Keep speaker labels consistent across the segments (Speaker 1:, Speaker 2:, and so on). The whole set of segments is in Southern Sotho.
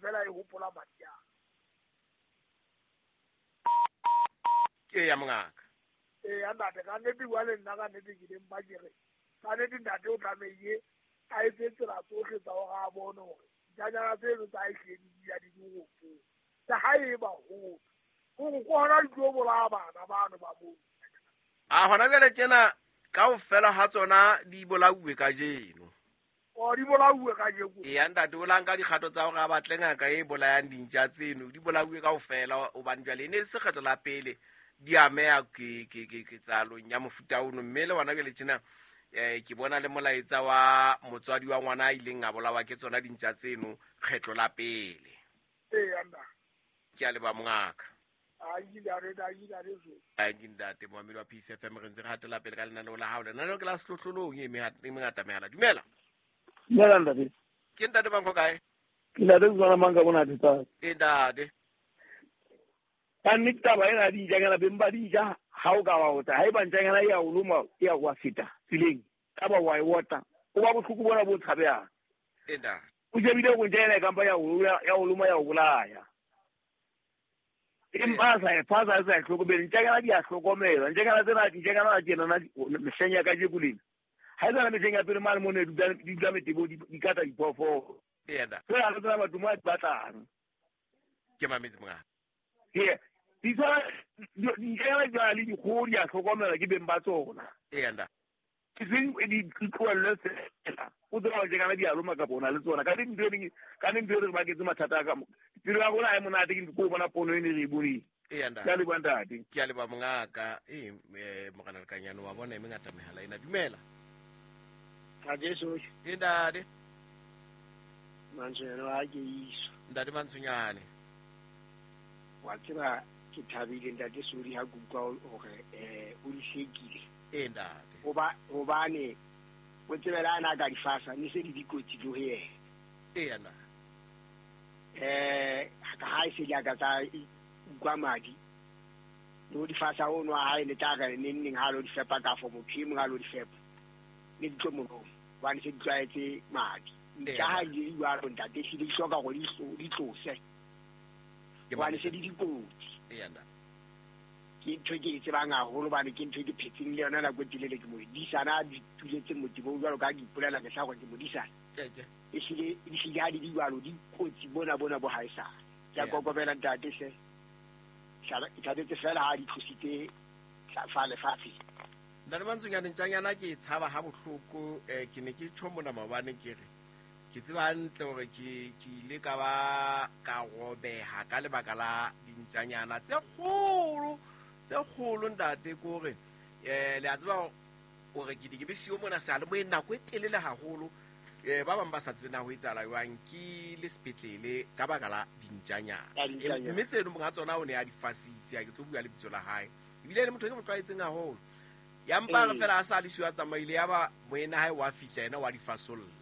Speaker 1: fela e hopola madi a.
Speaker 2: Ke ya mongaka.
Speaker 1: Ee, ntate, ka nnete bua le nna ka nnete ke leng ba ke re. Ka nnete ntate o tlamehile a etse tsela tsohle tsa hore a bone hore ntjanyana tseno tsa hae hlile di dula di le robong. Le ha e ba hole. Hore ke hona di tlo bolaya bana bano ba moo.
Speaker 2: A hona jwale tjena kaofela ha tsona di bolauwe kajeno.
Speaker 1: O di bolauwe kajeno.
Speaker 2: Eya ntate, o la nka dikgato tsa hore a batle ngaka e bolayang dintja tseno, di bolauwe kaofela hobane jwale e ne e se kgetlo la pele di ameha ketsahalong ya mofuta ono. Mme le hona jwale tjena ke bona le molaetsa wa motswadi wa ngwana a ileng a bolawa ke tsona dintja tseno kgetlo la pele.
Speaker 1: Eya ntate.
Speaker 2: Ke a leboha mongaka.
Speaker 1: Ai
Speaker 2: ke ntate moamedi wa Peace FM, re ntse re hatela pele ka lenaneo la hao. Lenaneo ke la sehlohlolong e mengata mehala. Dumela.
Speaker 3: Dumela ntate.
Speaker 2: Ke ntate Bankho kae?
Speaker 3: Ke ntate Tswana mang ka bona thetsang.
Speaker 2: Ke ntate.
Speaker 3: Ka nnete taba ena ya dintjanyana, beng ba dintja ha o ka wa otla, haeba ntjanyana e ya o loma, e ya wa feta tseleng, ka ba wa e otla, o ba bohloko bona bo tshabehang.
Speaker 2: Ke ntate.
Speaker 3: O shebile hore ntjanyana e kampa ya o loma ya o bolaya. Empa a sa e phasa, a sa e hlokomele. Ntjanyana di a hlokomelwa. Ntjanyana tsena, ntjanyana tjena na mehleng ya kajeko lena. Ha e tsana mehleng ya pele mane mo ne di dula metebo, di kata diphoofolo.
Speaker 2: Yena.
Speaker 3: Fela ha re tsena batho mo a di batlang.
Speaker 2: Ke mametse mongaka.
Speaker 3: Ke di tshwana, dintjanyana di tshwana le dikgoho, di a hlokomelwa ke beng ba tsona.
Speaker 2: Yena.
Speaker 3: Ke seng di tlohellwe fela. O tseba hore tjekana di a loma kapa o na le tsona. Ka nnete ntho e reng, ka nnete ntho e re baketse mathata a ka mo. Pelo ya rona ha e monate ke ntho bona pono e ne re e boneng.
Speaker 2: Eya, ntate.
Speaker 3: Ke a leboha ntate.
Speaker 2: Ke a leboha mongaka. Ee, Morena Lekanyane wa bona e mengata mehala ena. Dumela.
Speaker 4: Ntate Sohle.
Speaker 2: Ee, ntate.
Speaker 4: Mantshonyane wa ke iso.
Speaker 2: Ntate Mantshonyane.
Speaker 4: Wa tseba ke thabile ntate Sodi ha ke utlwa hore o di hlekile.
Speaker 2: Ee, ntate.
Speaker 4: Hobane o tsebela ana ka difasa ne se di dikotsi le ho yena.
Speaker 2: Ee, ntate.
Speaker 4: Ka ha e se di aka tsa utlwa madi. Le ho difasa o nwa hae le tla re neng neng ha lo di fepa ka fo motho e mong ha lo di fepa. Ne di tlo moloma hobane se di tlwaetse madi. Ka ha di jwalo ntate ehlile di hloka hore di tlose. Hobane se di dikotsi.
Speaker 2: Ee, ntate.
Speaker 4: Ke ntho ke e tsebang haholo hobane ke ntho ke phetseng le yona nako e telele ke modisana a di tuletse motebong jwalo ka ha ke ipolela mehla hore ke modisana. Ehlile di ha di di jwalo di kotsi bona bona bo haesale. Ke a kokobela ntate hle. Ke thabetse fela ha di tlositse fa lefatshe.
Speaker 2: Ntate Mantshonyane, ntjanyana ke e tshaba ha bohloko. Ke ne ke tjho mona maobane ke re ke tseba hantle hore ke ile ka ba ka robeha ka lebaka la dintjanyana tse kgolo, tse kgolo ntate. Ke hore le a tseba hore ke ne ke be siyo mona seyalemoyeng nako e telele haholo. Ba bang ba sa tsebe na ho etsahala jwang, ke le sepetlele ka baka la dintjanyana. Mme tseno monga tsona o ne a di fasitse, ha ke tlo bua lebitso la hae. Ebile le motho e ke mo tlwaetseng haholo. Ya mpa re fela a sa le siyo a tsamaile, ya ba moena hae wa fihla yena wa di fasolla.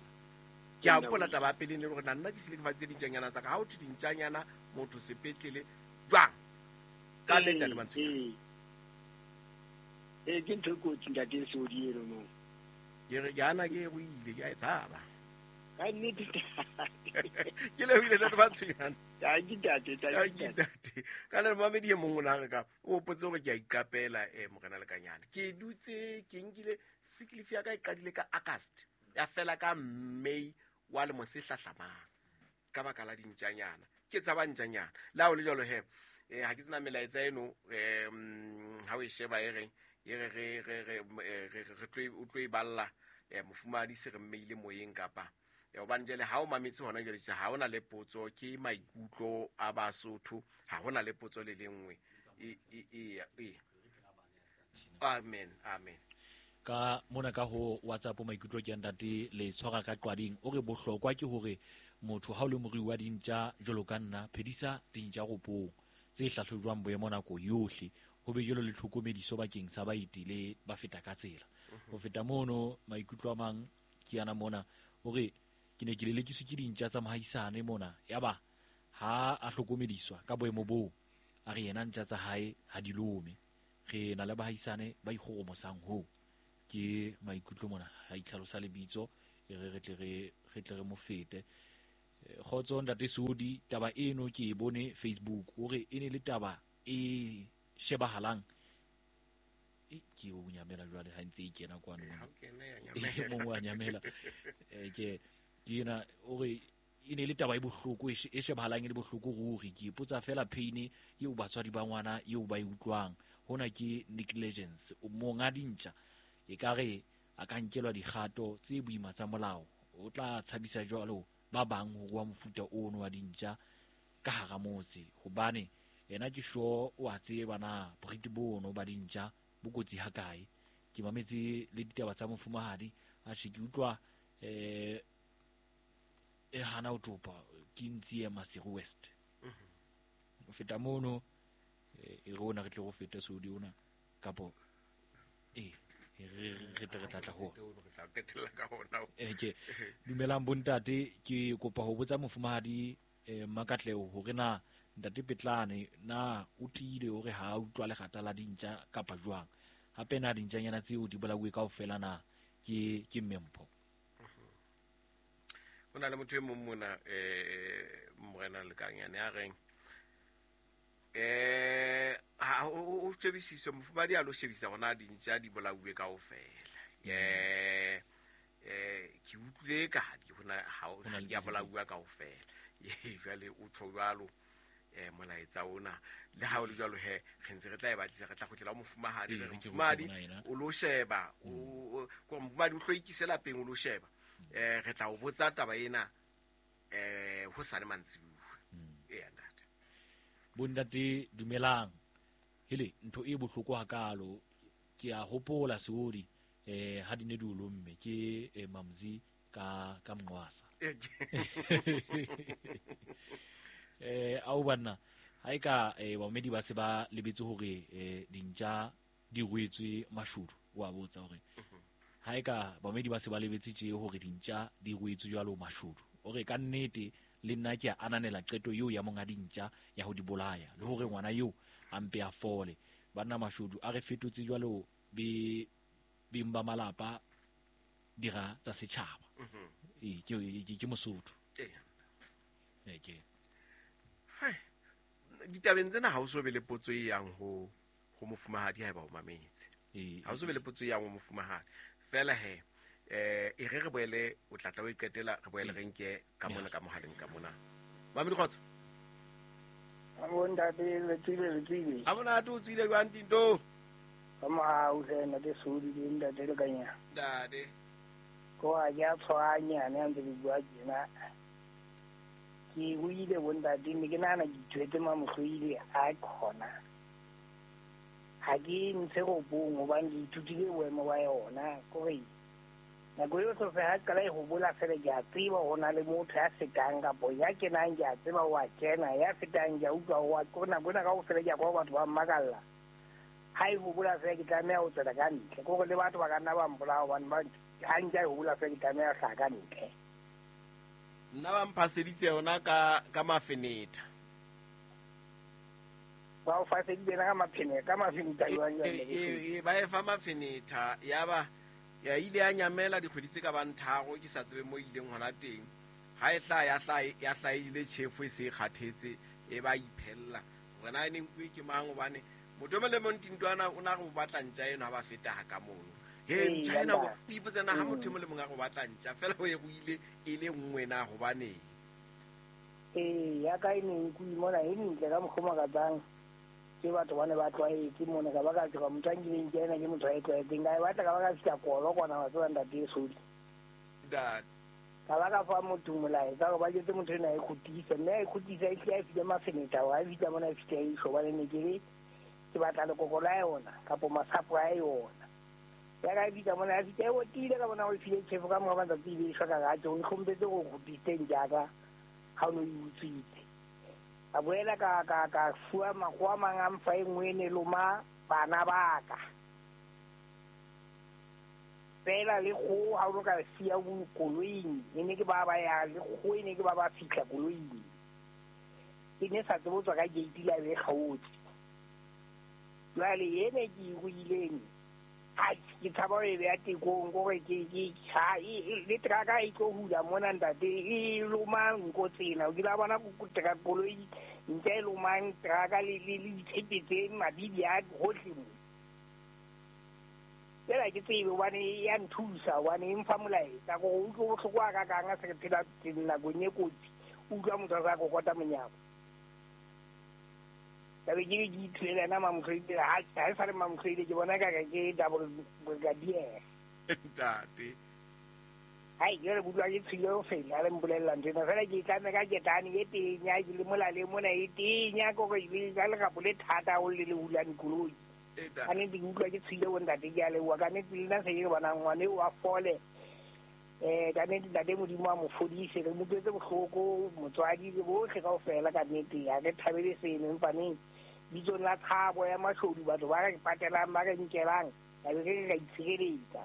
Speaker 2: Ke a hopola taba ya pele le hore na nna ke sile ke fasitse dintjanyana tsa ka. Ha ho thwe dintjanyana motho sepetlele jwang? Ka nnete ntate Mantshonyane.
Speaker 4: Ee, ke ntho e kotsi ntate Sodi eno no.
Speaker 2: Ke re ke ana ke ruile, ke a e tshaba.
Speaker 4: Ka nnete.
Speaker 2: Ke lebohile ntate Mantshonyane.
Speaker 4: Tanki ntate,
Speaker 2: tanki ntate. Ka le mamedi e mong o na re ka o hopotse hore ke a iqapela Morena Lekanyane. Ke dutse ke nkile sick leave ya ka e qadile ka August, ya fela ka May wa lemo se hlahlamang ka baka la dintjanyana. Ke tshaba ntjanyana. Le ha ho le jwalo he, ha ke tsena melaetsa eno, ha o e sheba e reng, e re re re re re re tlo o tlo e balla mofumahadi se re mmeile moyeng kapa hobane jwale ha o mametse hona jwale tje, ha hona le potso, ke maikutlo a Basotho, ha hona le potso le lengwe. Amen, amen.
Speaker 5: Ka mona ka ho WhatsApp maikutlo ke ntate le tshwara ka qwading, o re bohlokwa ke hore motho ha o le morui wa dintja jwalo ka nna, phedisa dintja ropong tse hlahlojwang boemo nako yohle, ho be jwalo le tlhokomediso bakeng sa baeti le ba feta ka tsela. Ho feta mono maikutlo a mang ke ana mona, o re ke ne ke lelekiswe ke dintja tsa mohaisane mona, yaba ha a hlokomediswa ka boemo boo, a re yena ntja tsa hae ha di lome. Re na le bahaisane ba ikgoromosang hoo. Ke maikutlo mona, ha itlhalosa lebitso, e re re tle re, re tle re mo fete. Kgotso ntate Sodi, taba eno ke e bone Facebook, hore e ne le taba e shebahalang. Ke o nyamela jwale ha ntse e kena kwano. Mongwe a nyamela. Ke ena hore e ne le taba e bohloko, e shebahalang e le bohloko ruri. Ke ipotsa fela pain eo batswadi ba ngwana eo ba e utlwang. Hona ke negligence. Monga dintja e ka re a ka nkelwa dikgato tse boima tsa molao. O tla tshabisa jwalo ba bang ho rua mofuta ono wa dintja ka hara motse, hobane yena ke sure o a tseba na boriti bono ba dintja bo kotsi ha kae. Ke mametse le ditaba tsa mofumahadi, a tjhe ke utlwa e hana ho topa ke ntsi Maseru West. Ho feta mono e rona re tle go feta Sodi ona kapo re tle re tla ho ke dumelang bontate. Ke kopa ho botsa mofumahadi Makatleo hore na ntate Petlane na o tiile hore ha a utlwa lekgata la dintja kapa jwang. Hape na dintjanyana tseo di bolauwe kaofela na ke Mmempho.
Speaker 2: Ho na le motho e mong mona morena Lekanyane a reng ha o shebisiswe mofumahadi a lo shebisa hona dintja di bolauwe kaofela. Ke utlwile ka di hona ha di a bolauwa kaofela. Jwale o tjho jwalo molaetsa ona le ha o le jwalo he re ntse re tla e batlisa, re tla kgutlela ho mofumahadi. Re mofumahadi o lo sheba, o mofumahadi o hloikise lapeng o lo sheba. Re tla o botsa taba ena ho sane mantsibuya. Ntate.
Speaker 5: Bontate dumelang. Hele ntho e bohloko hakalo ke a hopola Seodi ha di ne di o lomme ke Mamzi ka Mnqwasa. Au banna ha e ka bamedi ba se ba lebetse hore dintja di ruetswe mashudu. Wa botsa hore ha e ka bamedi ba se ba lebetse tje hore dintja di ruetswe jwalo mashudu. O re ka nnete le nna ke a ananela qeto eo ya monga dintja ya ho di bolaya le hore ngwana eo a mpe a fole. Banna mashudu a re fetotse jwalo be beng ba malapa dira tsa setjhaba. Ke Mosotho. Ke
Speaker 2: ditabeng tsena ha o so be le potso e yang ho mofumahadi haeba o mametse. Ha o so be le potso e yang ho mofumahadi. Fela he e re boele o tla tla o iqetela, re boele re nke ka mona ka mohaleng ka mona. Mamedi kgotso.
Speaker 6: Ntate le tswile.
Speaker 2: Ha monate o tswile jwang Tinto?
Speaker 6: Ka mohau hle ntate Sodi le ntate Lekanya.
Speaker 2: Ntate.
Speaker 6: Ko a ya tshwanya ne ntse ke bua tjena. Ke buile bontate ne ke nahana ke ithwetse mamohloile a khona. Ha ke ntshe robong hobane ke ithutile boemo ba yona. Kore nako eo sofe ha qala e ho bola fela ke a tseba ho na le motho ya fetang kapo ya kenang ke a tseba wa kena, ya fetang ke a utlwa wa kore nako ena kaofela ke a kwa batho ba mmakalla. Ha e ho bola fela ke tlameha ho tswela ka ntle. Kore le batho ba ka nna ba mpolaya hobane ba ha ntja e ho bola fela ke tlameha ho hlaha ka ntle.
Speaker 2: Nna ba mphaseditse yona ka mafenetha.
Speaker 6: Ba o faseditse ka mafenetha, ka mafenetha jwang jwang?
Speaker 2: Ba e fa mafenetha ya ba ya ile ya nyamela dikgwedi tse ka bang tharo ke sa tsebe mo ileng hona teng. Ha e hla ya hla ile tjhefo e se e kgathetse e ba iphella. Hore na e ne nkuwe ke mang hobane motho e mong le mong Tintwana o na re o batla ntja eno ha ba feta ha ka mono. He ntja ena o ipotsa na ha motho e mong le mong a re o batla ntja fela o e ruile e le nngwe na hobaneng.
Speaker 6: Ya ka e ne nkuwe mona e ntle ka mokgwa o makatsang. Ke batho ba ne ba tlwaetse mona ka ba ka tswa motho a nkileng ke ena ke motho a e tlwaetseng. Ka e batla ka ba ka fihla kolo kwana wa tseba ntate Sodi. Ka ba ka fa motho molaetsa hore ba jwetse motho ena a e kgutise, mme a e kgutisa e hlile a e file mafenetha hore a fihla mona e fihla e isho hobane ne ke re ke batla lekoko la yona kapo masapo a yona. Ya ka e fihla mona a fihla e otile ka bona o e file tjhefo ka mora matsatsi e be e shwa ka ratjo. O ntlhompetse hore o kgutlisitse ntja ka ha o no e utswitse. A boela ka fuwa makgowa a mang a mfa e nngwe e ne loma bana ba ka. Fela le kgoho ha o no ka siya koloing, e ne ke ba ba ya le kgoho e ne ke ba ba fihla koloing. E ne sa tsebe ho tswa ka gate la be e kgaotse. Jwale ene ke e ruileng Ai ke tshaba e beya tekong kore ke ha le trucka e tlo hula mona ntate e loma nko tsena o kile wa bona truck koloi ntse e lomang trucka le ditshepe tse mabidi a hohle mo. Fela ke tsebe hobane ya nthusa hobane e mfa molaetsa gore o utlwe bohloko a kakang a se re phela nakong e kotsi o utlwa motho a sa kokota monyako. Ka be ke re ke ithwele ena Mamokgwele ha e sa le Mamokgwele ke bona ka ke double brigadier.
Speaker 2: Ntate.
Speaker 6: Hai jwale ke utlwa ke tshohile ho fela ha le mpolella nthwena fela ke tlamme ka ketane e tenya ke le molaleng mona e tenya kore ka lerapo le thata haholo le le hulang koloi. Ka nnete ke utlwa ke tshohile bo ntate ke a leboha ka nnete le nna se ke bonang ngwane eo a fole. Ka nnete ntate Modimo a mo fodise re mo utlwetse bohloko motswadi le bohle kaofela ka nnete ha re thabele seno empaneng bitsong la tshabo ya mashodu batho ba re patelang ba re nkelang ka be re ka itshireletsa.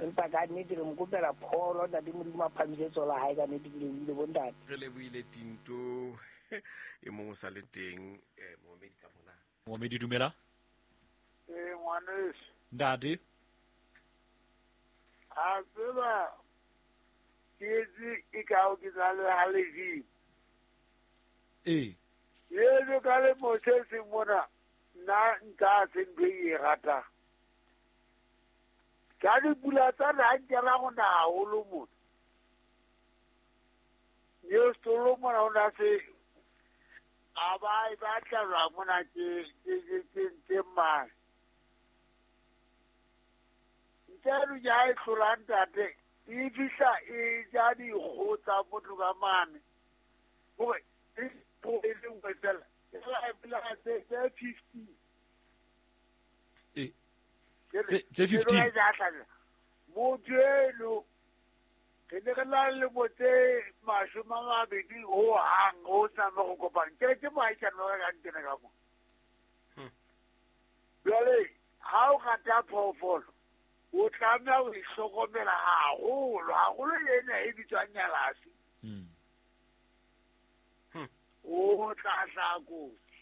Speaker 6: Empa ka nnete re mo kopela pholo ntate Modimo a phamise tsoho la hae ka nnete ke lebohile bo ntate.
Speaker 2: Re lebohile Tinto e mong o sa le teng momedi ka mona.
Speaker 5: Momedi dumela.
Speaker 1: Ngwaneso.
Speaker 5: Ntate.
Speaker 1: A tseba ke e ka o ke tsa le ha le
Speaker 5: ee.
Speaker 1: Yeno ka le mosese mona nna nka se ntho e ratang. Ka dipula tsa na nkela go na haholo mona. Yo stolo mona o na se a ba e batla jwang mona ke mang. Ntse ya e hlola ntate e fihla e ja dikgoho tsa motho ka mane. Hore e e le nngwe fela e pela tse 50.
Speaker 5: Tse 15.
Speaker 1: Motho eno re ne re na le lemo tse 20 ho hang ho tsamaya go kopana. Ke moahisane wa ka nkene ka mo. Jwale ha o rata phoofolo o tlameha ho ihlokomela haholo haholo le ena e bitswang nyalasi. O tla hlaha kotsi.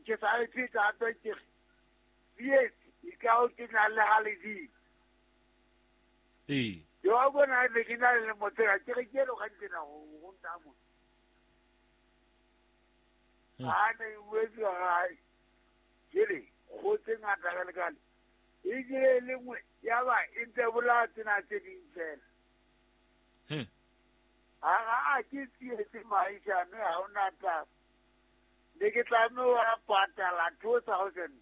Speaker 1: Ke sa e pheta hape ke re tsietsi e ka o ke na le ha ledimo.
Speaker 5: Ee.
Speaker 1: Yo a bona ne ke na le lemo tsena ke re ke eno ka ntsena ho nna mona. Ha ne e boetse hae ke re kgoho tse ngata ka lekale. E kile le nngwe ya ba e ntse bolaya tsena tse ding fela. Ha ke tsietse moahisane ha hona taba. Ne ke tlameha ho patala 2000.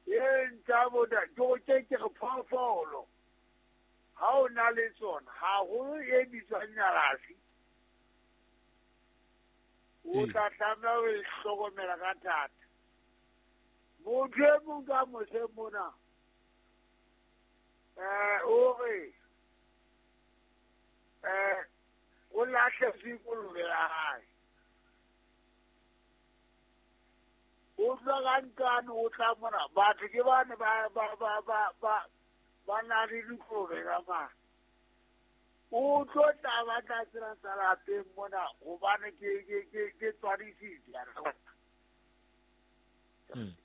Speaker 1: E ntsa bona ke ke re phoofolo. Ha o na le tsona haholo e bitswang nyalasi. O tla tlameha ho e hlokomela ka thata. Motho e mong ka mose mona o re o lahletswe kolobe ya hae. O tla ka nkane o tla mona batho ke bane ba na le dikolobe ka mane. O tlo tla batla tsela tsa lapeng mona hobane ke tswadisitse.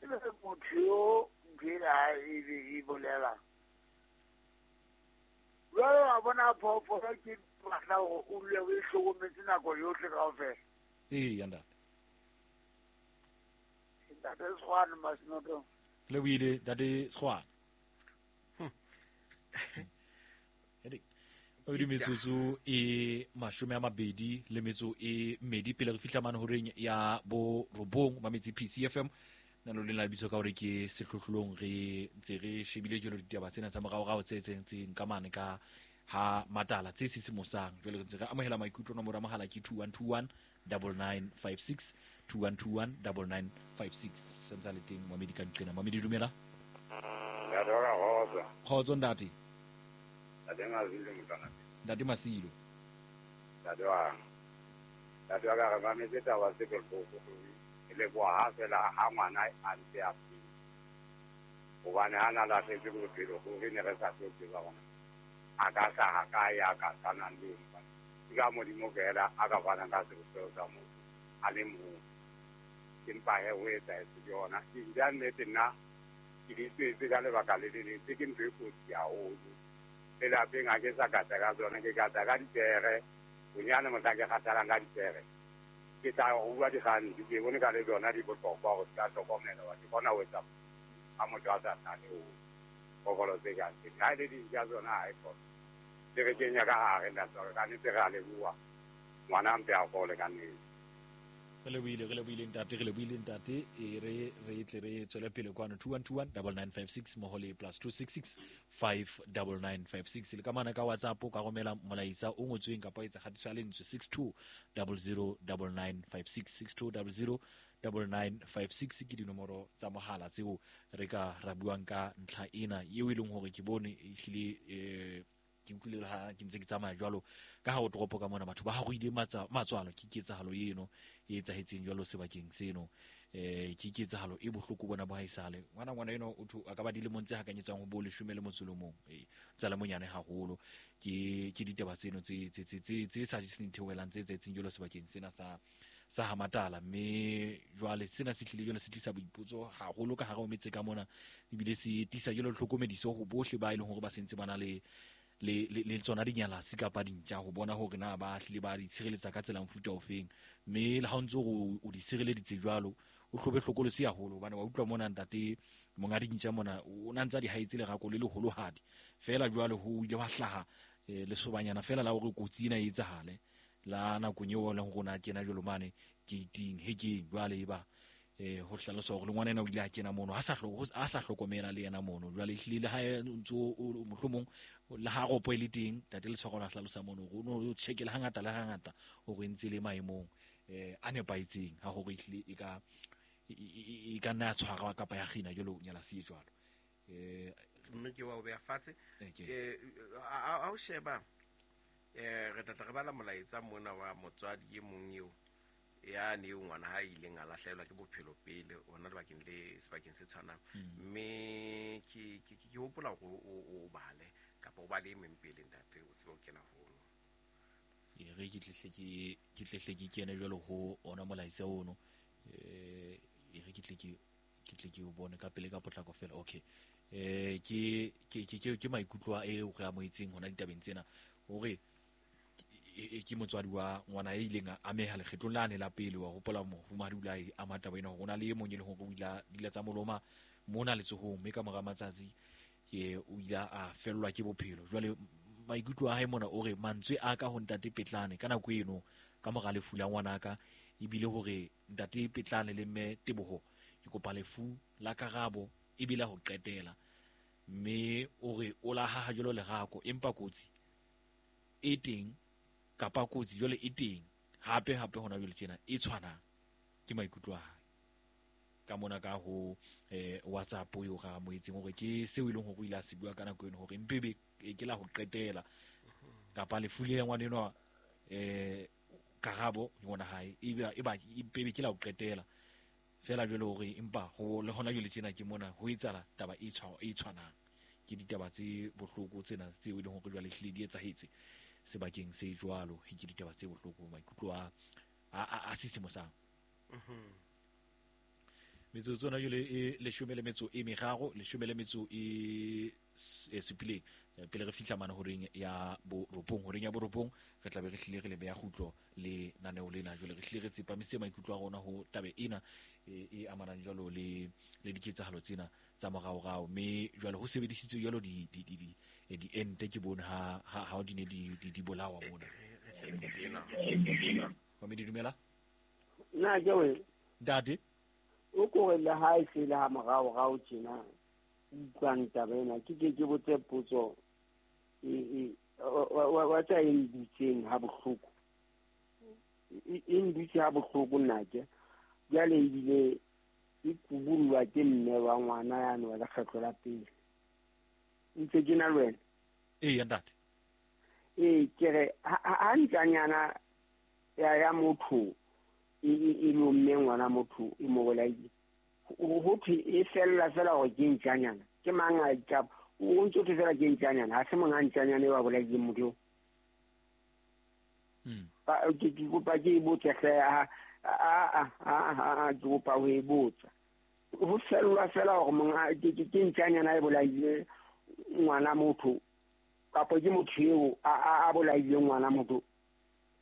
Speaker 1: Ebe motho yo ntho ena e bolelang. Jwale wa bona phoofolo ke batla hore o dule o e hlokometse nako yohle kaofela.
Speaker 5: Ee, ntate.
Speaker 1: Ntate Sekgwane Masinoto.
Speaker 5: Le buile ntate Sekgwane. O metsotso e 22 pele re fihla mane horeng ya bo 9 ba metsi PCFM na lo lena lebitso ka hore ke sehlohlolong re ntse re shebile jalo ditaba tsena tsa moraorao tse tsentseng ka mane ka ha matala tse sisimosang. Jwale re ntse re amohela maikutlo nomoro ya mohala ke 2121 9956 2121 9956. Sentse le teng Mohamedi ka nqena. Mohamedi dumela.
Speaker 7: Ntate wa kgotso.
Speaker 5: Kgotso ntate.
Speaker 7: Ntate Masilo motwana.
Speaker 5: Ntate Masilo.
Speaker 7: Ntate wa ka re mametse taba tse bohloko. E leboha ha fela ha ngwana a ntse a phela. Hobane ha na lahletse bophelo ruri ne re sa tlo tseba hore a ka hlaha kae, a ka tshwanang le eng. Ke ka Modimo fela a ka fanang ka sebopeho sa motho a le mong. Empa he ho etsahetse ke yona. Dintja nnete nna ke di tswetse ka lebaka le le leng, tse ke ntho e kotsi haholo. Le lapeng ha ke sa kata ka tsona, ke kata ka dipere. Bonyane mohla ke kgathalang ka dipere, ke tla rua dikganti, ke bone ka le tsona di bohlokwa hore di ka hlokomelwa. Ke kgona ho etsa ha motho a sa hlale ho phoofolo tse kang tsena. Ha e le dintja tsona ha e kgone. Di re kenya ka hare ntate wa ka, ka nnete re a leboha. Ngwana a mpe a fole ka nnete.
Speaker 5: Re lebohile, re lebohile ntate, re lebohile ntate. E re re tle re tswele pele kwano 2121 9956 mmoho le plus 266 59956. Le ka mane ka WhatsApp o ka romela molaetsa o ngotsweng kapa o etsa kgatiso ya lentswe 62 00 9956 62 00 9956 ke dinomoro tsa mohala tseo re ka ra buang ka ntlha ena eo e leng hore ke bone ehlile ke utlwile ha ke ntse ke tsamaya jwalo ka ha o toropo ka mona batho ba haroile matswalo ke ketsahalo eno e etsahetseng jwalo sebakeng seno. Ke ketsahalo e bohloko bona bo haesale ngwana eno o tho a ka ba dilemong tse hakanyetswang ho bo 10 le motso le mong, tsa le monyane haholo. Ke ditaba tseno tse sa jeseng theohelang tse etsahetseng jwalo sebakeng sena sa Hamatala. Mme jwale sena se tlile jwale se tlisa boipotso haholo ka hare ho metse ka mona, ebile se tlisa jwalo tlhokomediso ho bohle ba e leng hore ba sentse ba na le tsona dinyalasi kapa dintja ho bona hore na ba hlile ba di tshireletsa ka tsela mofuta ofeng. Mme le ha o ntse o di sireleditse jwalo, o hlobe hlokolosi haholo hobane wa utlwa mona ntate monga dintja mona o na ntsa di haetse lerako le leholohadi fela. Jwale ho ile wa hlaha lesobanyana fela la hore kotsi ena e etsahale la nakong eo e leng hore o na kena jwalo mane gating hekeng. Jwale e ba ho hlalosa hore le ngwana ena o ile a kena mono a sa hlokomela le yena mono. Jwale ehlile le ha ntso mohlomong le ha ropo e le teng, ntate Letshwaro la hlalosa mono hore o no checkele hangata le hangata hore ntse le maemong a nepahetseng ha hore ehlile e ka nna ya tshwarwa kapa ya kgina jwalo nyalasi e jwalo.
Speaker 2: Mme ke wa o beha fatshe. A o sheba re tla re bala molaetsa mona wa motswadi e mong eo ya ne ngwana ha ileng a lahlehelwa ke bophelo pele ona lebakeng le sebakeng se tshwanang. Mme ke hopola hore o bale kapa o bale e meng pele ntate o tsebe ho kena hono.
Speaker 5: E re ke tlehle ke kene jwalo ho ona molaetsa ono. E re ke tle ke o bone ka pele ka potlako fela. Okay. Ke maikutlo a eo re amohetseng hona ditabeng tsena hore ke motswadi wa ngwana e ileng a ameha lekgetlong lane la pele. Wa hopola mofumahadi o ile a ama taba ena hore o na le e mong e leng hore o ile a dila tsa moloma mona letsohong, mme ka mora matsatsi ke o ile a fellwa ke bophelo. Jwale maikutlo a hae mona o re mantswe a ka ho ntate Petlane ka nako eno ka mora lefu la ngwanaka ebile hore ntate Petlane le mme Teboho ke kopa lefu la Karabo ebile ho qetela. Mme o re o la haha jwalo lerako empa kotsi e teng kapa kotsi jwale e teng hape hona jwale tjena e tshwanang. Ke maikutlo a hae ka mona ka ho WhatsApp eo ra moetseng hore ke seo e leng hore o ile a se bua ka nako eno hore mpebe ke la ho qetela kapa lefu le ngwana enwa Karabo ngwana hae e ba mpebe ke la ho qetela fela jwale hore empa ho le hona jwale tjena ke mona ho etsala taba e tshwanang. Ke ditaba tse bohloko tsena tseo e leng hore jwale hlile di etsahetse sebakeng se jwalo. Ke ditaba tse bohloko, maikutlo a sisimosang. Metsotso yona jwale e 13 le 7 pele re fihla mane horeng ya borobong. Horeng ya borobong re tla be re hlile re le beha kgutlo le naneo lena. Jwale re hlile re tsepamise maikutlo a rona ho tabe ena e amanang jwalo le diketsahalo tsena tsa moraorao. Mme jwale ho sebedisitswe jwalo di ente ke bone ha di ne di bolawa mona. Wa me dumela
Speaker 8: nna ke we
Speaker 5: ntate
Speaker 8: o kore le ha e se le ha moraorao tjena utlwang taba ena ke botse potso wa tsa e ndutseng ha bohloko e ndutse ha bohloko nna ke jwale ebile e kubullwa ke mme wa ngwana yane wa lekgetlo la pele ntse ke na le wena.
Speaker 5: Ee ntate.
Speaker 8: Ee ke re ha ntjanyana ya motho e lomme ngwana motho e mo bolaile ho thwe e fella fela hore ke ntjanyana ke mang a itjaba o ntse o thwe fela ke ntjanyana ha se monga ntjanyana e wa bolaileng motho eo. Ke kopa ke botse hle A ke kopa ho e botsa. Ho fellwa fela hore monga ke ntjanyana e bolaile ngwana motho kapa ke motho eo a bolaile ngwana motho.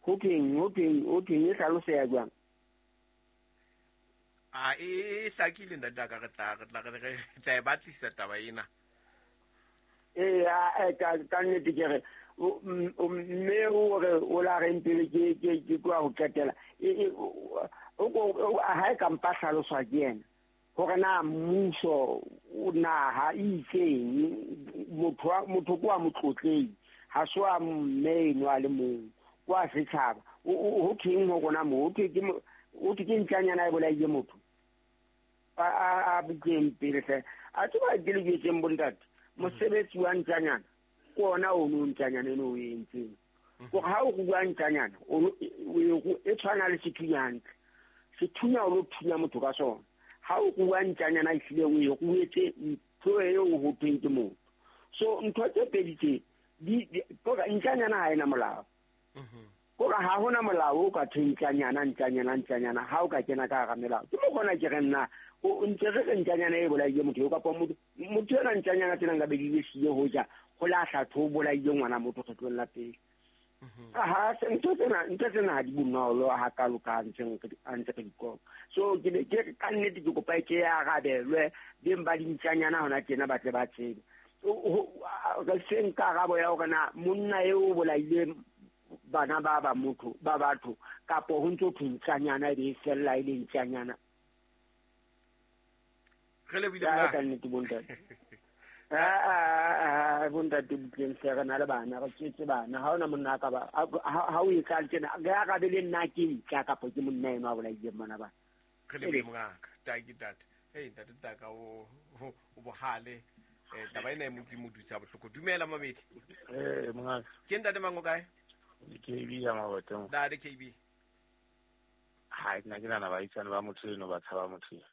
Speaker 8: Ho teng e hlaloseha jwang?
Speaker 2: A e hlakile ntate ka re tla e batlisa taba ena.
Speaker 8: Ka nnete ke re mme o re o la reng pele ke tloha ho qetela. Ha e ka mpa hlaloswa ke yena hore na mmuso o naha e itseng motho kwa motlotlehi ha se wa mme eno a le mong kwa setjhaba. Ho thweng ho rona mo ho thwe ke ntjanyana e bolaile motho a butleng pele hle. A tseba ke le jwetseng bontate mosebetsi wa ntjanyana ke ona ono ntjanyana eno o entseng. Gore ha o rua ntjanyana e tshwana le sethunya hantle. Sethunya o lo thunya motho ka sona. Ha o rua ntjanyana ehlile o e ruetse ntho eo ho thweng ke motho. So ntho tse pedi tse kore ntjanyana ha ena molao. Kore ha hona molao o ka thweng ntjanyana ha o ka kena ka hara melao. Ke mo kgona ke re nna o ntse re re ntjanyana e bolaile motho eo kapa motho ena ntjanyana tsena nka be di le siyo ho ja ho lahla tho bolaile ngwana motho kgetlong la pele. Ha ntho tsena ha di bonolo hakalo ka ntse re di kopa. So ke ka nnete ke kopa ke arabelwe beng ba dintjanyana hona tjena ba tle ba tsebe. Re seng karabo ya hore na monna eo o bolaile bana ba motho ba batho kapo ho ntso thwe ntjanyana e be e fella e le ntjanyana.
Speaker 2: Re lebile
Speaker 8: ka nnete bontate. Bontate butleng hle re na le bana re tswetse bana ha hona monna ka ba ha o e tla tjena re arabe le nna ke ntja kapa ke monna eno a bolaileng bana ba.
Speaker 2: Re lebile mongaka taki tate. Hey ntate taka o bohale. Taba ena e mo dutsa bohloko. Dumela mamedi.
Speaker 9: Mongaka.
Speaker 2: Ke ntate mang o kae?
Speaker 9: KB ya Maboteng.
Speaker 2: Ntate KB.
Speaker 9: Ha nna ke nana baahisane ba motho eno ba tshaba motho eno.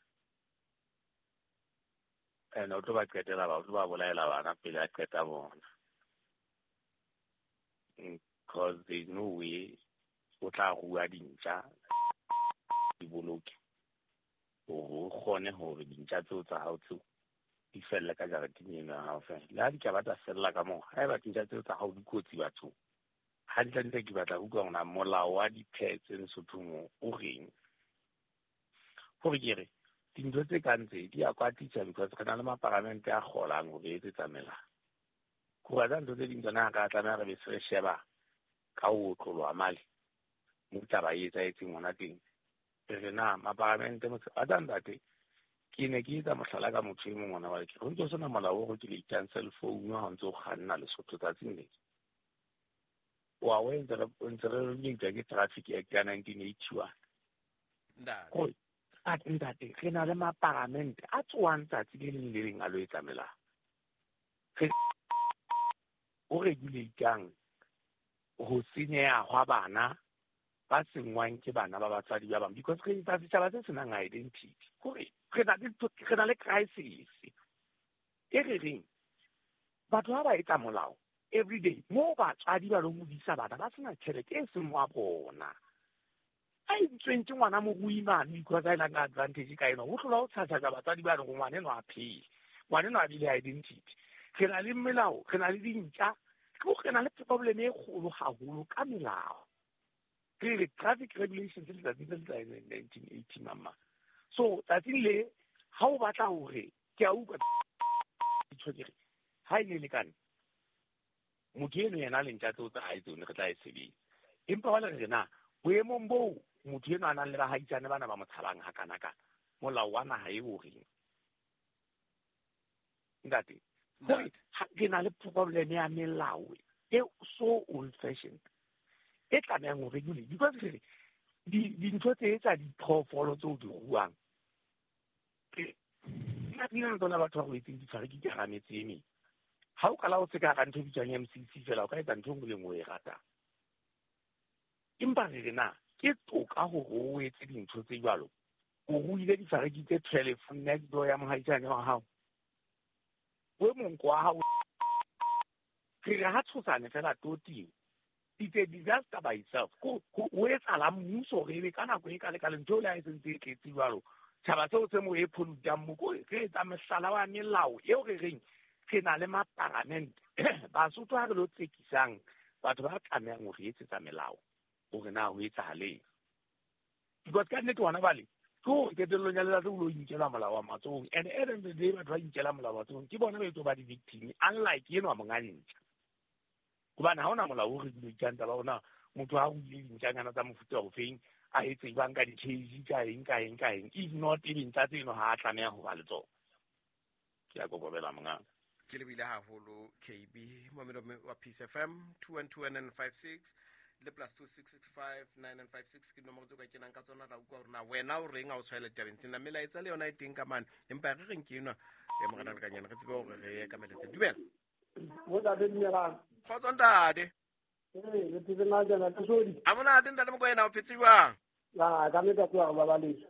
Speaker 9: Ene o tlo ba qetela ba o tlo ba bolaela bana pele a qeta bona. Because there is no way o tla rua dintja di boloke hore o kgone hore dintja tseo tsa hao tseo di felle ka jareteng eno ya hao fela. Le ha di ka ba tsa fella ka moo, haeba dintja tseo tsa hao di kotsi bathong, hantle ke batla ho utlwa hore na molao wa di-pets Lesothong o reng. Hore ke re dintho tse kang tse di a kwatisa because re na le maparamente a kgolang hore etsetsa melao. Kore tsa ntho tse ding tsona ha ka tlameha re be se re sheba ka ho otloloha male mo taba e etsahetseng hona teng. Re re na maparamente a tsa ntate ke ne ke etsa mohlala ka motho e mong ona wa ke ho ntso sena molao o regulatang cell phone ha o ntso kganna Lesotho tsatsing le. Wa o ntse re regulate ke Traffic Act ya 1981.
Speaker 2: Ntate.
Speaker 9: Ntate re na le maparamente a tsoang tsatsi le leng le leng a lo etsa melao. Re o regulatang ho senyeha hwa bana ba sengwang ke bana ba batswadi ba bang because re etsa setjhaba se senang identity. Hore re na le crisis e re reng batho ha ba etsa molao every day mo batswadi ba lo modisa bana ba sena tjhelete e seng wa bona. A entsweng ke ngwana morui mane because a nang advantage ka ena ho hlola ho tshatsha batswadi ba re ngwana eno a phele ngwana eno a bile identity. Re na le melao, re na le dintja, re na le problem e kgolo haholo ka melao. Re re traffic regulations le tsatsing le tsa 1980 mama. So tsatsing le ha o batla hore ke a utlwa ditho ke re ha e ne lekane motho eno yena le ntja tseo tsa hae tsone re tla e sebetsa. Empa wa le re na boemong boo motho eno a nang le bahaisane bana ba mo tshabang hakana-kana molao wa naha e o reng ntate hore ke na le problem ya melao e so old fashioned e tlamehang ho regulate because re dintho tse tsa diphoofolo tseo di ruang nna tsona batho ba robetseng ditshware ke hara metse e meng. Ha o qala o se ka hara ntho e bitswang MCC fela o ka etsa ntho e nngwe le nngwe o e ratang. Empa re re na ke toka hore o etse dintho tse jwalo. O ruile difariki tse 12 next door ya mohaisane wa hao. O monko wa hao. Re re ha tshosane fela toting. Di a disaster by itself. Ko o etsahala mmuso re be ka nako e ka le ka lentho le ha e sentse e tletse jwalo. Tjhaba seo se mo e pholutang mo ko re etsa mehlala wa melao eo re reng re na le maparamente. Basotho ha re lo tsekisang batho ba tlamehang ho re etsetsa melao hore na ho etsahaleng. Because ka nnete hona bale ke hore qetellong ya letsatsi o lo inkela molao wa matsohong, and at the end of the day batho ba inkela molao wa matsohong ke bona ba etso ba di-victim, unlike enwa monga ntja. Hobane ha hona molao o regulatang taba ona, motho ha o ile dintjanyana tsa mofuta ofeng a etse jwang ka di-cage ka eng ka eng ka eng, if not e dintja tseno ha a tlameha ho ba le tsona. Ke a kokobela mongaka.
Speaker 2: Ke lebile haholo KB momelo wa Peace FM 212 le plus 26659956 ke nomoro tseo ka kenang ka tsona. Ra utlwa hore na wena o reng ha o tshwaela ditabeng tsena. Melaetsa le yona e teng ka mane, empa re reng ke enwa ya morena Lekanyane, re tsebe hore re ye ka melaetsa. Dumela.
Speaker 10: Ntate, dumelang.
Speaker 2: Kgotso ntate.
Speaker 10: Ee, re phetse na jana, ke sodi.
Speaker 2: A monate ntate Mokoena, o phetse jwang?
Speaker 10: Ah, ka nnete ke a ba balesa.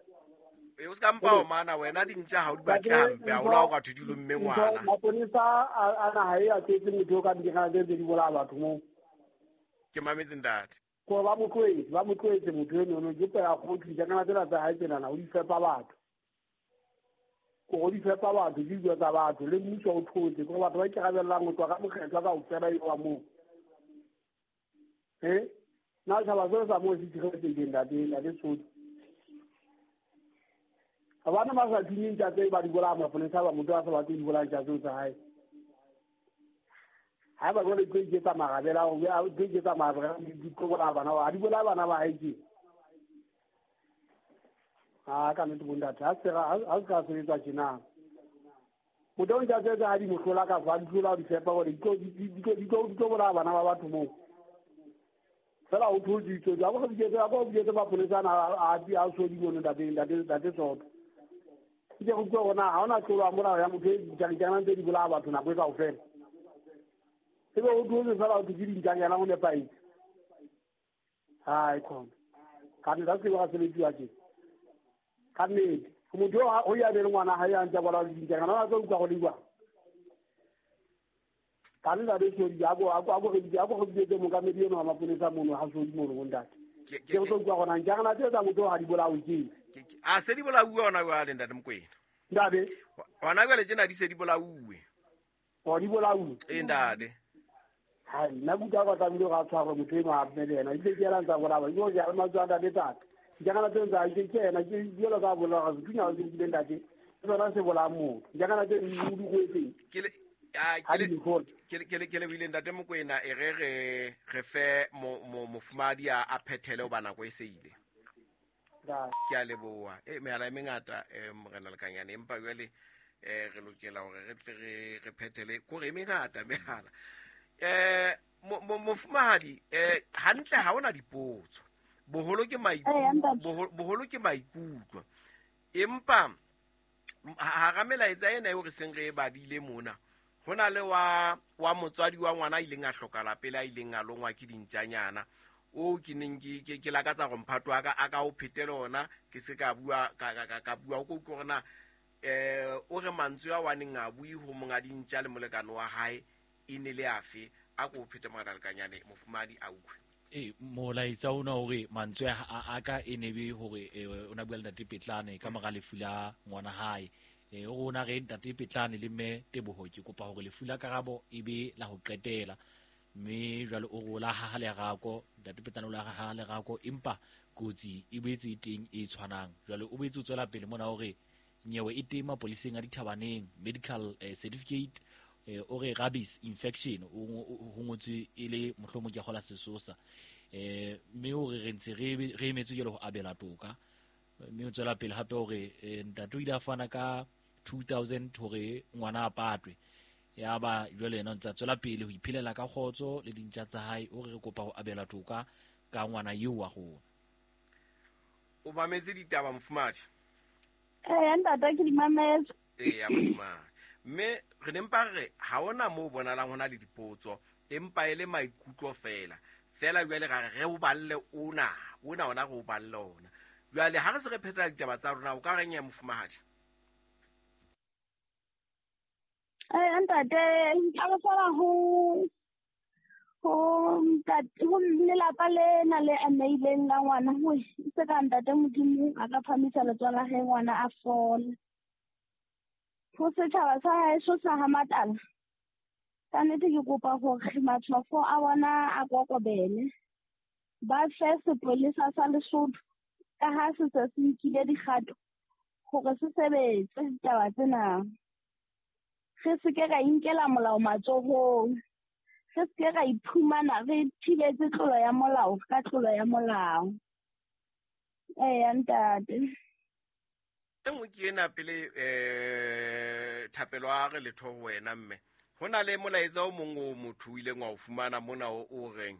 Speaker 2: E o ska mpa o mana wena dintja ha o di batle hampe, ha o la o ka thudilo mme ngwana.
Speaker 10: Maponesa a naha e a tletse motho o ka dikgana tse di bolaya batho moo.
Speaker 2: Ke mametse ntate.
Speaker 10: Ko ba mo tloetse motho eno ke pela go tlisa kana tsela tsa hae tsena o di fepa batho. Ko di fepa batho di dilo tsa batho le mmuso o thotse ko batho ba ikarabellang ho tswa ka mokgetlo ka ofela e wa moo. Na tjhaba seo sa moo se tshireletsehileng ntate Sodi. Bana ba sa thunyeng ntja tse ba di bolaya maponesa ba motho a sa batle di bolaya ntja tseo tsa hae. Ha ba jwale tlo iketsa marabela, o tlo iketsa marabela di tlo bolaya bana ba, ha di bolaya bana ba hae tje. Ah, ka nnete bontate, ha se ka sebetsa tjena. Motho o ntja tseo tsa hae di mo hlola ka fa, di hlola di fepa hore di tlo bolaya bana ba batho moo. Fela o thotse ditso, a go biditse maponesa ana a Sodi mono ntate Soto. Ke go utlwa hore na ha hona tlolo ya molao ya motho e ditjanyana tse di bolaya batho nako e kaofela. Ebe o thotse fela o thotse dintjanyana ho nepahetse. Hai khona. Ka nnete ha se ba sebetsiwa tje. Ka nnete motho o ya be le ngwana hae a ntse bolaya dintjanyana a tlo utlwa go le jwang. Ka nnete a Sodi a go biditse mookamedi eno wa maponesa mono ha Sodi mono bo ntate. Ke go tlo utlwa hore na ntjanyana tse tsa motho ha di bolawe ke.
Speaker 2: A se di bolauwe hona jwale ntate Mokoena.
Speaker 10: Ntate.
Speaker 2: Hona jwale tjena di se di bolauwe.
Speaker 10: O di bolauwe.
Speaker 2: Ee ntate.
Speaker 10: Hai, nna ke utlwa ba tlamehile hore a tshwarwe motho enwa a mme le yena. Ebile ke yena a ntsa bolaya. Ke hore ke a le mantswe a ntate tata. Ntjanyana tseo tsa hae ke yena, ke jwalo ka bolaya hore sethunya ha se nkile ntate. Ke sona se bolayang motho. Ntjanyana tseo o di kwetseng.
Speaker 2: Ke lebile ntate Mokoena, e re re fe mofumadi a phethele hoba nako e se ile. Ke a leboha. Mehala e mengata morena Lekanyane, empa jwale re lokela hore re tle re phethele kore e mengata mehala. Mofumahadi, hantle ha hona dipotso. Boholo ke maikutlo. Empa hara melaetsa ena eo re seng re e badile mona, ho na le wa motswadi wa ngwana a ileng a hlokahala pele a ileng a longwa ke dintjanyana. O ke neng ke lakatsa hore mphato wa ka a ka o phetele ona, ke se ka bua ka bua o ko utlwe hore na o re mantswe a waneng a bue ho monga dintja le molekane wa hae e ne le afe. A ko phete morena Lekanyane, mofumadi a utlwe.
Speaker 5: Molaetsa ona hore mantswe a ka e ne be hore o na bua le ntate Petlane ka mora lefu la ngwana hae. O rona re ntate Petlane le mme Teboho, ke kopa hore lefu la Karabo e be la ho qetela. Mme jwale o re o la haha lerako, ntate Petlane o la haha lerako, empa kotsi e boetse e teng e tshwanang. Jwale o boetse o tswela pele mona hore nyewe e teng mapoliseng a dithabaneng, medical certificate, o re rabies infection o ngotswe e le mohlomong ke kgola sesosa. Mme o re re ntse re emetse jwale ho abela toka. Mme o tswela pele hape hore ntate o ile a fana ka 2000 hore ngwana a patwe. Ya ba jwale yena o ntse a tswela pele ho iphelela ka kgotso le dintja tsa hae. O re re kopa ho abela toka ka ngwana eo wa rona.
Speaker 2: O mametse ditaba mofumadi?
Speaker 11: Ntate ke di mametse.
Speaker 2: Ee, mofumadi. Mme re ne mpa re ha hona moo bonalang hona le dipotso, empa e le maikutlo fela. Fela jwale ra re o balle ona ona re o balle ona. Jwale ha re se re phethela ditaba tsa rona, o ka reng ya mofumahadi?
Speaker 11: Ntate, nka re fela ho Ho ntate ho lelapa lena le ameileng la ngwana ho se ka ntate Modimo a ka phamisa letsoho la hae ngwana a fole. Ho setjhaba sa haeso sa ha Matala, ka nnete ke kopa hore matshwafo a bona a kokobele. Ba fe sepolesa sa Lesotho ka ha se se se nkile dikgato hore se sebetse ditaba tsena. Re se ke ra inkela molao matsohong. Re se ke ra iphumana re thibetse tlolo ya molao ka tlolo ya molao. Eya ntate.
Speaker 2: E nngwe ke ena pele Thapelo a re letho ho wena mme. Ho na le molaetsa o mong o motho o ileng wa o fumana mona o reng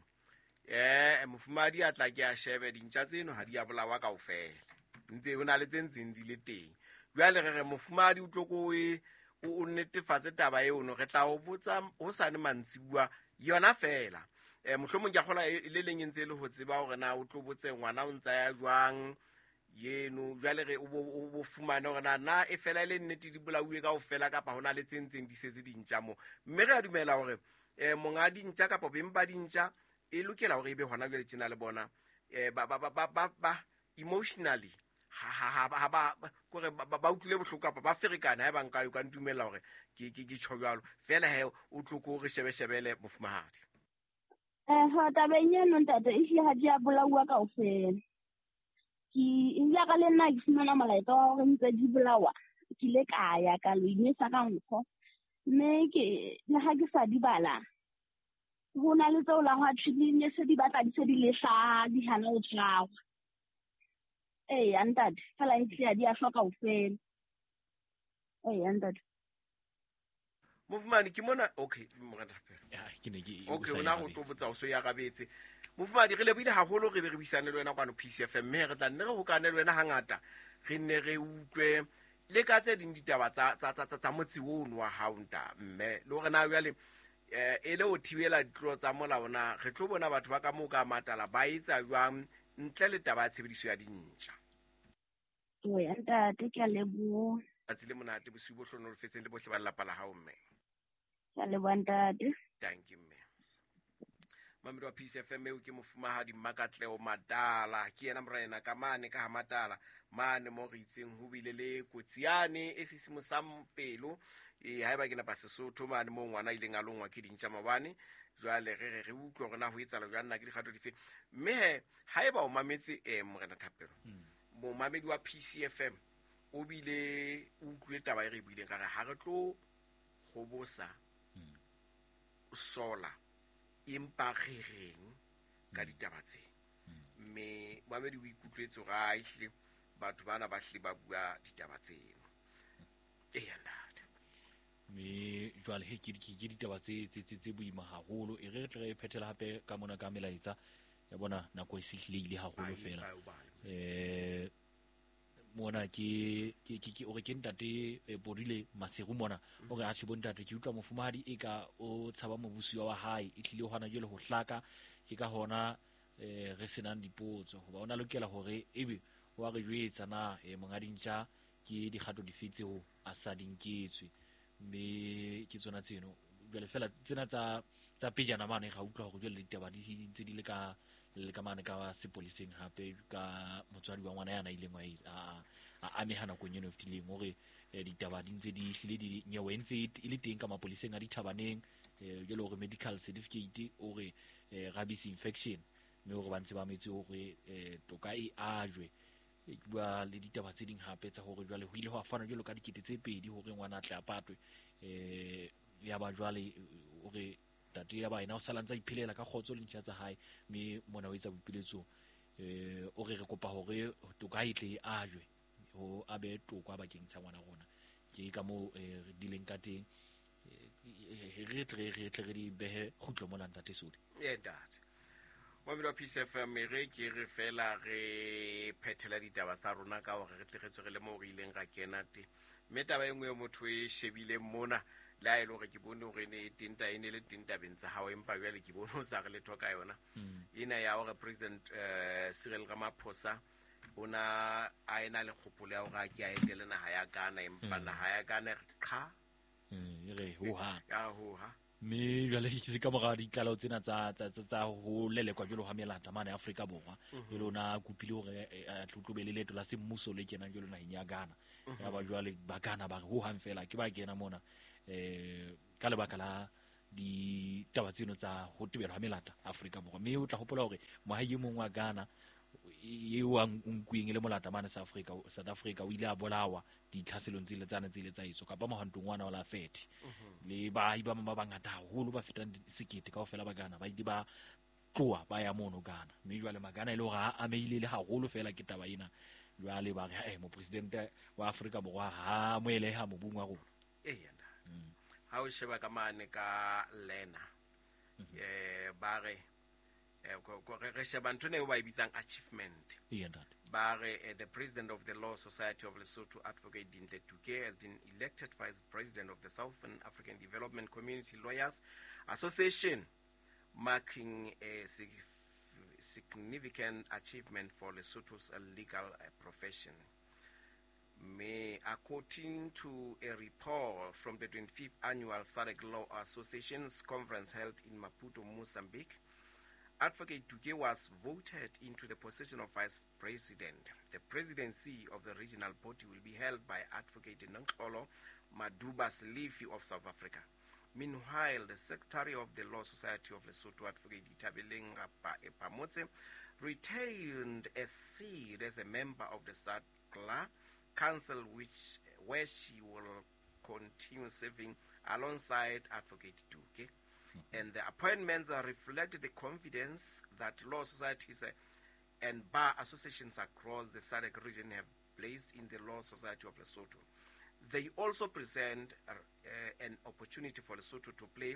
Speaker 2: mofumahadi a tla ke a shebe dintja tseno ha di a bolawa kaofela. Ntse ho na le tse ntseng di le teng. Jwale re re mofumahadi o tlo ko o netefatse taba eno, re tla o botsa hosane mantsibuwa yona fela. Mohlomong ke a kgola le leng e ntse e le ho tseba hore na o tlo botse ngwana o ntsa ya jwang yeno. Jwale re o bo fumane hore na e fela e le nnete di bolauwe kaofela kapa hona le tse ntseng di setse dintja mo. Mme re a dumela hore monga dintja kapa beng ba dintja e lokela hore ebe hona jwale tjena le bona ba emotionally ha ba kore ba utlwile bohloko kapa ba ferekana ha ba nka o ka ntumella hore ke tjho jwalo fela he o tlo ko re shebeshebele mofumahadi.
Speaker 11: Ha tabeng eno ntate e hlile ha di a bolauwa kaofela. Ke ile ka le nna ke fumana molaetsa wa hore ntse di bolawa, ke ile ka ya ka lo inesa ka nkgo. Mme ke le ha ke sa di bala, ho na le tseo la hwa thwe di ne se di batla di se di le hlaha, di hana ho tshwarwa. Eya ntate, fela e hlile ha di a shwa kaofela. Eya ntate.
Speaker 2: Mofumahadi ke mona, okay, morena Thapelo.
Speaker 5: Ya, ke ne ke
Speaker 2: okay, ona go tlo botsa o so ya rabetse. Mofumahadi re lebohile haholo re be re buisane le wena kwano PCFM, mme re tla nne re hokane le wena hangata, re nne re utlwe le ka tse ding ditaba tsa motse ono wa hao nta mme le hore na jwale e le ho thibela ditlolo tsa molao na re tlo bona batho ba ka moo ka Matala ba etsa jwang ntle le taba ya tshebediso ya dintja.
Speaker 11: Oya ntate, ke a leboha.
Speaker 2: Tsatsi le monate, bosiu bo hlohonolofetseng le bohle ba lelapa la hao mme.
Speaker 11: Ke a leboha ntate.
Speaker 2: Thank you mme. Mamedi wa PCFM eo ke mofumahadi Mmakatleho Matala, ke yena morena ka mane ka ha Matala mane mo re itseng ho bile le kotsi yane e sisimosang pelo haeba ke napa Sesotho mane moo ngwana a ileng a longwa ke dintja maobane. Jwale re re utlwe hore na ho etsahala jwang, na ke dikgato dife. Mme he haeba o mametse morena Thapelo, momamedi wa PCFM o bile o utlwile taba e re buileng ka re ha re tlo hobosa sola empa re reng ka ditaba tse. Mme momamedi o ikutlwetse hore a ehlile batho bana ba hlile ba bua ditaba tseno. Eya ntate.
Speaker 5: Mme jwale he ke ditaba tse boima haholo. E re tle re phethela hape ka mona ka melaetsa ya bona nako e sehlile ile haholo fela. Mona ke ore ke ntate Bodile Maseru mona o re a tjhe bontate ke utlwa mofumahadi e ka o tshaba mobusi wa hae e tlile hona jwale ho hlaka ke ka hona re senang dipotso hoba ona lokela hore ebe wa re jwetsa na monga dintja ke dikgato dife tseo a sa di nketswe. Mme ke tsona tseno jwale fela tsena tsa pejana mane ga utlwa hore jwale ditaba di ntse di le ka le ka mane ka sepoliseng hape ka motswadi wa ngwana yana ileng a ameha nakong eno e fetileng hore ditaba di ntse di hlile di nyewe ntse e le teng ka mapoliseng a dithabaneng jwale hore medical certificate o re rabies infection mme hore ba ntse ba metse hore toka e ajwe. Ke bua le ditaba tse ding hape tsa hore jwale ho ile hwa fanwa jwalo ka 2000 hore ngwana a tle a patwe ya ba jwale hore tate ya ba ena o sala ntsa iphelela ka kgotso le ntja tsa hae mme mona o etsa boipiletso o re re kopa hore toka e tle e ajwe ho abe toka bakeng sa ngwana rona. Ke ka moo re dileng ka teng re tle re di behe kgutlo mona ntate Sodi.
Speaker 2: Ntate Mamedi wa PCFM re ke re fela re phethela ditaba tsa rona ka hore re tle re tswe re le moo re ileng ra kena teng. Mme taba e nngwe e motho e shebileng mona le ha e le hore ke bone hore e ne e teng e ne le teng tabeng tsa hao, empa jwale ke bone o sa re letho ka yona. Ena ya hore President Cyril Ramaphosa o na a ena le kgopolo ya hore a ke a etele naha ya Ghana, empa naha ya Ghana re qha
Speaker 5: e re hoha.
Speaker 2: Ya hoha.
Speaker 5: Mme jwale ke ka mora ditlaleho tsena tsa ho lelekwa jwalo ha melata mane Afrika Borwa. Jwale o na kopile hore a tlobe le leeto la semmuso le kenang jwalo naheng ya Ghana. Ya ba jwale ba Ghana ba re ho hang fela ke ba kena mona ka lebaka la ditaba tseno tsa ho tebelwa ha melata Afrika Borwa. Mme o tla hopola hore moahi e mong wa Ghana eo a nkuweng e le molata mane South Africa o ile a bolawa ditlhaselong tse ile tsane tse ile tsa etswa kapa mohwantong wa ona la 30. Le baahi ba bang ba bangata haholo ba fetang 1000 kaofela ba Ghana ba ile ba tloha ba ya mono Ghana. Mme jwale Magana e le hore a amehile le haholo fela ke taba ena. Jwale ba re mopresidente wa Afrika Borwa ha moeleha mobung wa rona.
Speaker 2: Ha o sheba ka mane ka lena ba re re sheba ntho eo ba e bitsang achievement. Ba re the president of the Law Society of Lesotho, Advocate Dintle Tuke, has been elected vice president of the Southern African Development Community Lawyers Association, marking a significant achievement for Lesotho's legal profession. May, according to a report from the 25th Annual SADC Law Association's conference held in Maputo, Mozambique, Advocate Tuke was voted into the position of vice president. The presidency of the regional body will be held by Advocate Nonkolo Maduba Selifi of South Africa. Meanwhile, the secretary of the Law Society of Lesotho, Advocate Ithabeleng Phamotse, retained a seat as a member of the SADCLA Council, where she will continue serving alongside Advocate Tuke. And the appointments reflect the confidence that law societies and bar associations across the SADC region have placed in the Law Society of Lesotho. They also present an opportunity for Lesotho to play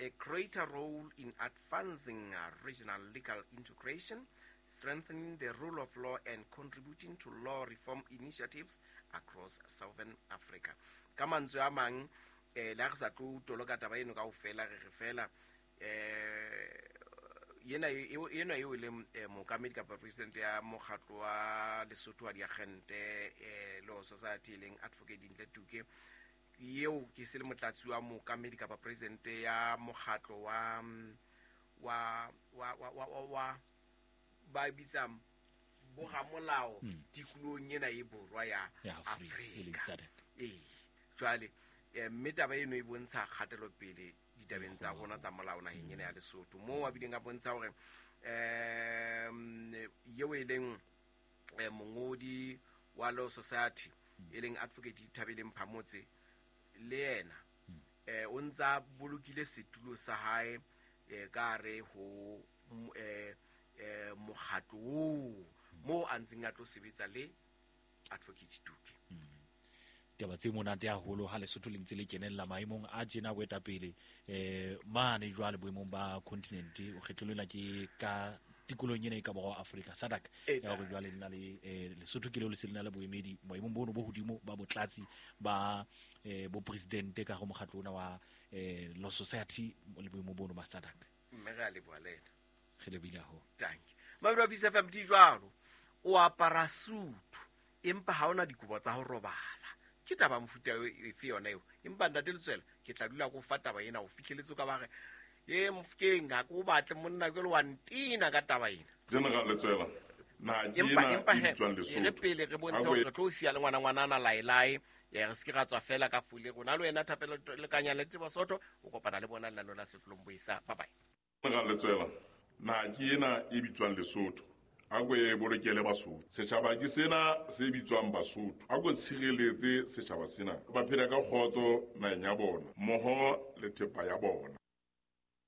Speaker 2: a greater role in advancing regional legal integration, strengthening the rule of law, and contributing to law reform initiatives across Southern Africa. Ka mantswe a mang, le ha re sa tlo toloka taba eno kaofela, re re fela yena eo e leng mookamedi kapa president ya mokgatlo wa Lesotho wa diagente Law Society e leng Advocate Dintle Tuke, eo ke se le motlatsi wa mookamedi kapa president ya mokgatlo wa ba bitsang boramolao tikolong ena e borwa ya Afrika. Jwale mme taba eno e bontsha kgatelopele ditabeng tsa rona tsa molao naheng ena ya Lesotho, moo a bileng a bontsha hore eo e leng mongodi wa Law Society e leng Advocate Ithabeleng Phamotse, le yena o ntsa bolokile setulo sa hae ka re ho mokgatlo oo moo a ntseng a tlo sebetsa le Advocate Tuke.
Speaker 5: Taba tse monate haholo ha Lesotho le ntse le kenella maemong a tjena boetapele mane jwale boemong ba continent o kgetlolena ke ka tikolong ena e ka borwa Afrika SADC ya hore jwale le na le Lesotho ke leo le se le na le boemedi boemong bono bo hodimo ba botlatsi ba bo presidente ka go mokgatlo ona wa Law Society le boemo bono ba SADC.
Speaker 2: Mme re a leboha le ena.
Speaker 5: Re lebohile haholo.
Speaker 2: Thank you. Mabelo a Peace FM di jwalo, o apara sutu empa ha ona dikobo tsa ho robala. Ke taba mofuta efe yona eo? Empa ntate Letswela, ke tla dula ko fa taba ena o fihleletse ka ba re e mofkeng ha ke o batle monna ke le wa ntina ka taba ena.
Speaker 12: General Letswela, na ke ena e bitswang Lesotho.
Speaker 2: Re pele re bontshe hore re tlo siya le ngwana ngwanana laelae, re se ke ra tswa fela ka fule rona le wena Thapelo Lekanya le Tsebo Soto, o kopana le bona lenaneo la Setlolong Boisa. Bye bye.
Speaker 12: General Letswela, na ke ena e bitswang Lesotho. A ko e bolokele Basotho. Setjhaba ke sena se bitswang Basotho. A ko tshireletse setjhaba sena. Ba phela ka kgotso naheng ya bona, mmoho le thepa ya bona.